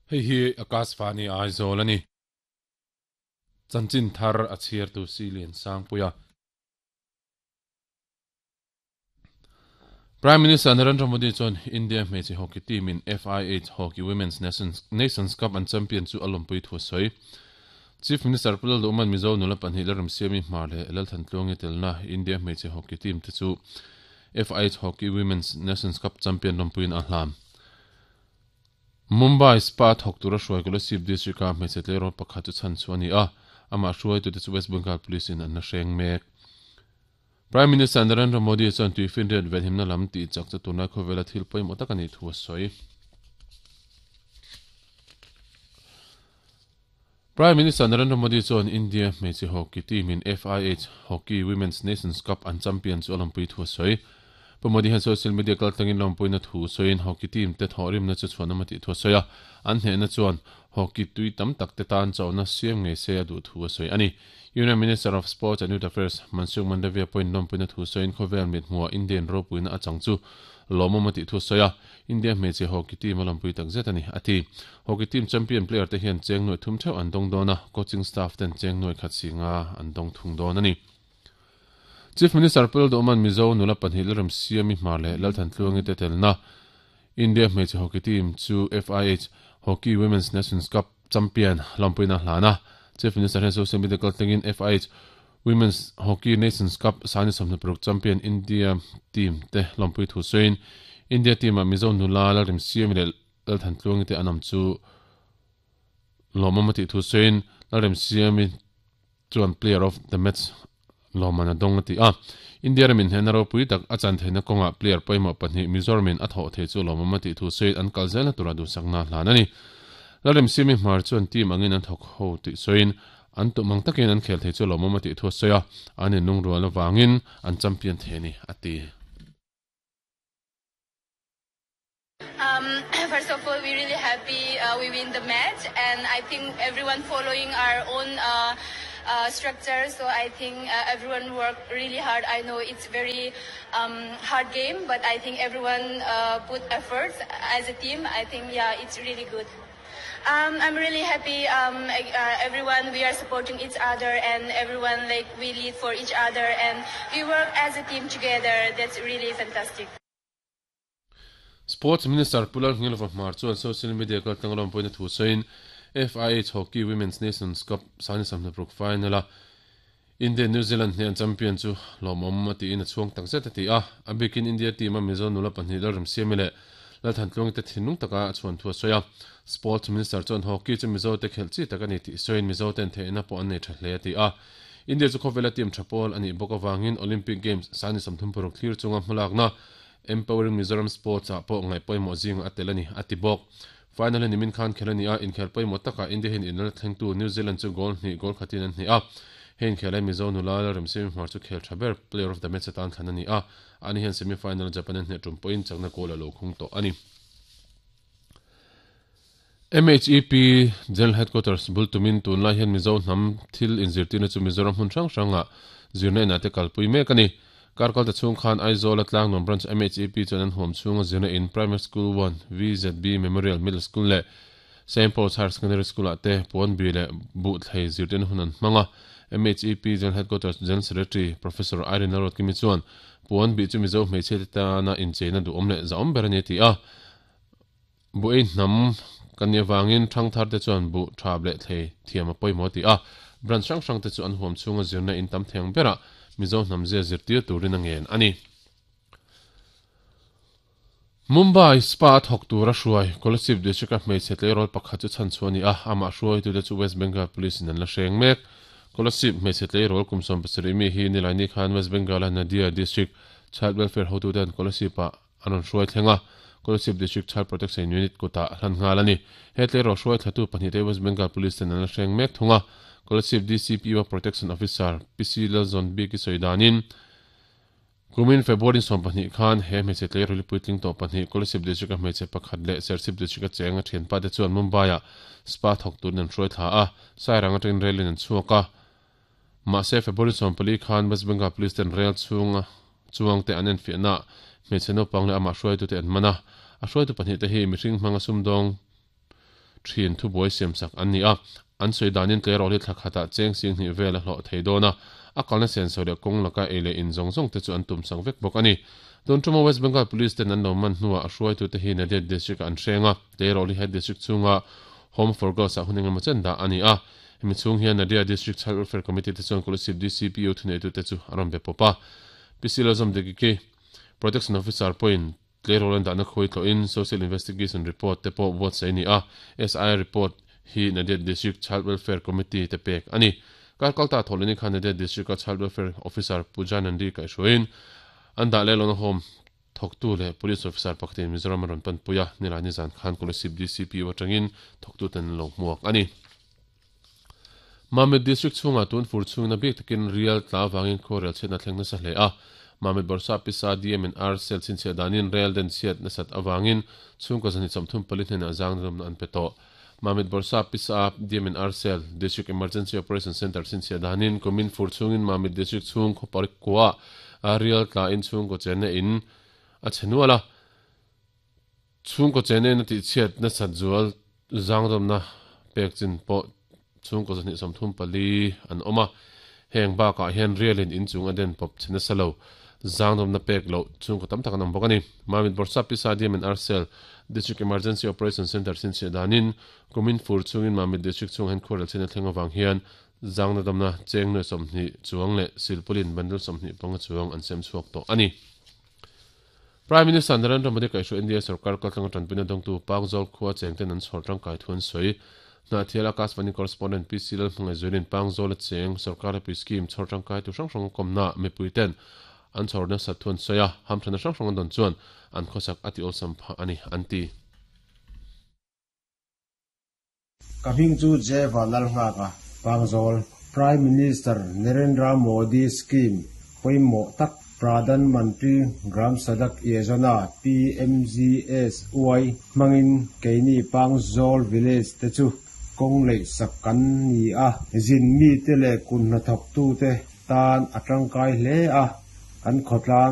Hei hi Akashvani Aizawl a ni. Chanchin thar a chhiartu Silian Sangpuia. Prime Minister Narendra Modi chuan India hmeichhe hockey team in FIH Hockey Women's Nations Cup an champion chu a lawmpui thu a sawi. Chief Minister Pu Lalduhman Mizo nula pahnih Lalremsiami Hmar leh Lalthantluangi telna India hmeichhe hockey team te chu FIH Hockey Women's Nations Cup champion lawmpuiin a hlan. Mumbai Spa thawk tura hruai Kolasib District-a hmeichhe tleirawl pakhat chu chhan chhuah a ni a, amah hruaitute chu West Bengal Police in an la hreng mek. Prime Minister Narendra Modi chuan tuifinriat venhimna lam tih chak chu tunlai khawvela thil pawimawh tak a nih thu a sawi. Prime Minister Narendra Modi chuan India hmeichhe hockey team in FIH Hockey Women's Nations Cup an champion chu a lawmpui thu a sawi. Pu Modi hian social media kaltlangin lawmpuina thu sawiin hockey team te thawhrimna chu chhuanawm a tih thu a sawi a, an hnehna chuan hockey tui tam tak te tan chauhna siam ngei se a duh thu a sawi a ni. Union Minister of Sports and Youth Affairs Mansukh Mandaviya pawhin lawmpuina thu sawiin khawvel mithmuhah Indian ropuina a chang chu lawmawm a tih thu a sawi a, India hmeichhe hockey team a lawmpui tak zet a ni, a ti. Hockey team champion player te hian cheng nuai thum theuh an dawng dawn a, coaching staff ten cheng nuai khat si nga an dawng thung dawn a ni. Chief Minister Pu Lalduhman Mizo nula pahnih Lalremsiami Hmar leh Lalthantluangi te telna India hmeichhe hockey team chu FIH Hockey Women's Nations Cup champion lawmpuina a hlan a. Chief Minister hian social media kaltlangin FIH Women's Hockey Nations Cup sani 26 champion India team te lawmpui thu sawiin India team-ah Mizo nula Lalremsiami leh Lalthantluangi te an awm chu lawmawm a tih thu sawiin Lalremsiami chuan Player of the Match lawmman a dawng a ti a. India ramin hnehna ropui tak a chan theihna kawngah player pawimawh pahnih Mizoramin a thawh thei chu lawmawm a tih thu sawiin an kal zelna tura duhsakna a hlan a ni. Lalremsiami Hmar chuan team angin an thawk ho tih sawiin an tum ang takin an khel thei chu lawmawm a tih thu a sawi a, an inlungrual avangin an champion thei a ni a ti. Um, first of all, we're really happy uh, we win the match, and I think everyone following our own uh, uh, structure. So I think uh, everyone worked really hard. I know it's very um, hard game, but I think everyone uh, put efforts as a team. I think yeah, it's really good. Um, I'm really happy. Um, uh, everyone, we are supporting each other, and everyone like we lead for each other, and we work as a team together. That's really fantastic. Sports Minister Pu Lalngilova Hmar chuan social media kaltlang lawmpuina thu sawiin FIH Hockey Women's Nations Cup sani 26 final-a India New Zealand hnen champion chu lawmawm a tiin a chhuang tak zet a ti a. A bikin India team-a Mizo nula pahnih Lalremsiami leh Lalthantluangi te thinlung taka a chhuan thu a sawi a. Sports Minister chuan hockey chu Mizo te khelh chi tak a ni tih sawiin Mizo ten theihna pawh an nei tha hle a ti a. India chu khawvela team tha pawl a nih bawk avangin Olympic Games sani 36 thlir chunga hmalakna Empowering Mizoram Sports ah pawh ngaih pawimawh zingah a tel a ni, a ti bawk. Final hi nimin khan khel a ni a, inkhel pawimawh takah India hian inla thlengtu New Zealand chu goal hnih goal khatin an hneh a. He inkhel hi Mizo nula Lalremsiami Hmar chu khel tha ber, Player of the Match atan thlan a ni a, ani hian semi final Japan an hneh tum pawhin chakna goal a lo khung tawh a ni. MHEP General Headquarters bul tumin tunlai hian Mizo hnam thil inzirtirna chu Mizoram hmun hrang hrangah zirna inah te kalpui mek a ni. Kar kalta chhung khan Aizawl-a Tlangnuam Branch MHEP chuan an huam chhunga zirna in Primary School 1, VZB Memorial Middle School leh Saint Paul's Higher Secondary School-ah te puanbi leh buhthlei zirtirna hun an hmang a. MHEP General Headquarters General Secretary Professor Irene Lalruatkimi chuan puanbi chu Mizo hmeichhia te tana incheina duhawm leh zahawm ber a ni a ti a. Buh ei hnam kan nih avangin thangthar te chuan buh thap leh thlei thiam a pawimawh a ti a, branch hrang hrang te chu an huam chhunga zirna in tam thei ang berah Mizo hnam zia zirtir turin a ngen a ni. Mumbai spa a thawk tura hruai Kolasib District-a hmeichhe tleirawl pakhat chu chhanchhuah a ni a, amah hruaitute chu West Bengal Police in an la hreng mek. Kolasib hmeichhe tleirawl kum 17 mi hi Nilaini khan West Bengal-a Nadia District Child Welfare hotuten Kolasib-ah An rawn hruai thleng a, Kolasib District Child Protection Unit kutah a hlan nghal a ni. He tleirawl hruai thlatu pahnihte West Bengal Police ten an la hreng mek thung a, Kolasib DCPO Protection Officer PC Lalzawnbik i sawi danin, Kumin February 12 khan he hmeichhe tleirawl puitling tawh pahnih Kolasib District-a hmeichhe pakhat leh Serchhip District-a cheng a thianpa te chuan Mumbai-ah spa thawk turin an hruai thla a, Sairang atangin rail in an chhuak a. Mahse, February 14 khan West Bengal Police ten rail chhunga chuang te an enfiahna ah hmeichhe naupang leh amah hruaitute an man a. A hruaitu pahnih te hi mihring hmanga sumdawng thin thubuai siamsak an ni a. An sawi danin tleirawl hi thla khatah cheng sing hnih vel a hlawh thei dawn a, a kalna senso leh kawng laka ei leh in zawng zawng te chu an tumsak vek bawk a ni. Tun tuma West Bengal Police ten an lo man hnuah a hruaitute hi Nadia District ah an hreng a, tleirawl hi he district chhunga Home for Girls ah hun engemaw chen dah a ni a. Hemi chhung hian Nadia District Child Welfare Committee te chuan Kolasib DCPO thuneitute chu a rawn be pawp a. PC Lalzawmdiki Protection Officer pawhin Tleirawl an dahna khawi tlawhin Social Investigation Report te pawh buatsaih a ni a, SIR report hi Nadia District Child Welfare Committee te pek a ni. Kar kalta thawhlehni khan Nadia District-a Child Welfare Officer Pooja Nandi kaihhruaiin an dah leh lawna home thawktu leh Police Officer pakhatin Mizoram a rawn panpui a, nilai nizan khan Kolasib DCPO atangin thawktuten an lo hmuak a ni. Mamit District chhungah tun fur chhungin a bik takin rial tla avangin khuarel chhiatna thleng nasa hle a. Mamit Bawrhsap Pisa DM&R cell chhinchhiah danin rel den chhiat nasat avangin chhungkaw zahnih 34 hnenah zangdawmna an pe tawh. Mamit Bawrhsap Pisa DM&R cell District Emergency Operation Centre chhinchhiah danin kumin fur chhungin Mamit District chhung khaw parik kuah rial tla in chhungkaw chenna in a chhe nual a. Chhungkaw chena in a tihchhiat nasat zual zangdawmna pek chin pawh chhungkaw 234 an awm a, heng bakah hian rialin inchung a den pawp chhe nasa lo zangdawmna pek loh chhungkaw tam tak an awm bawk a ni. Mamit Bawrhsap Pisa DM and R Cell District Emergency Operation Centre chhinchhiah danin kumin fur chhungin Mamit District chhungah hian khuarel chhiatna thleng avang hian zangna damna cheng nuai 20 chuang leh silpawlin bundle 25 chuang an sem chhuak tawh a ni. Prime Minister Narendra Modi kaihhruai India sorkar kaltlanga tanpuina dawngtu Pangzawl khua chengten an chhawr tangkai thu an sawi. Hnahthial Akashvani Correspondent PC Lalhmangaihzualin Pangzawl a cheng sorkar hlapui scheme chhawr tangkai tu hrang hrang kawmna mipuiten an chhawr nasat thu an sawi a, hamthana hrang hrang an dawn chuan an khawsak a ti awlsam phah a ni, an ti. Ka hming chu J Vanlalnghaka, Pangzawl. Prime Minister Narendra Modi scheme pawimawh tak Pradhan Mantri Gram Sadak Yojana, PMGSY, hmangin keini Pangzawl village te chu kawng leih sak kan ni a, zin mite leh kut hnathawktute tan a tangkai hle a, kan khawtlang.